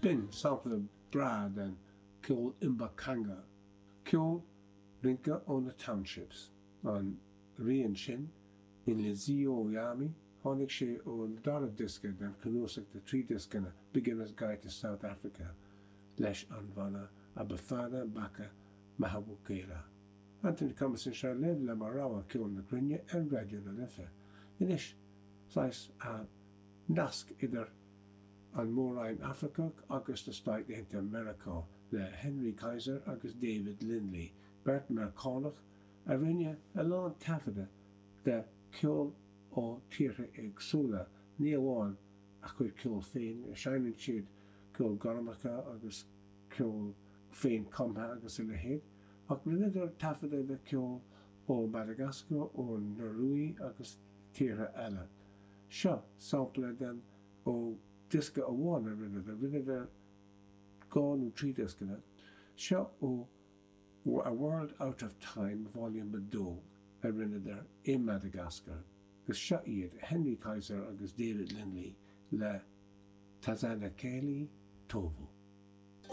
B'in sampla breá den cheol Mbaqanga, ceol rince ó na townships. An rian sin, Inhliziyo Yami, tháinig sé ón dara diosca den chnuasach de thrí dioscanna, Beginner's Guide to South Africa, leis an bhanna Abafana Baka Mahawukela. Anthony Cummins anseo libh le mo rogha ceol na cruinne ar Raidió na Life. Anois, saghas nasc idir an Mór-Roinn Afracach agus na Stáit Aontaithe Meiriceá le Henry Kaiser agus David Lindley, beirt Meiriceánach a rinne a lán taifeadadh de cheol ó tíortha éagsúla, ní amháin a chuid ceoil féin, seinneann siad ceol gormacha agus ceol féin-chumtha agus a leithéid, ach rinneadar taifeadadh de cheol ó Madagascar, ón Ioruaidh agus tíortha eile. Seo sampla den ó diosca amháin a rinneadar, rinneadar dhá nó trí dioscanna. Seo ó A World Out of Time Volume 2 a rinneadar i Madagascar agus seo iad Henry Kaiser agus David Lindley le Tazanakely Tovo.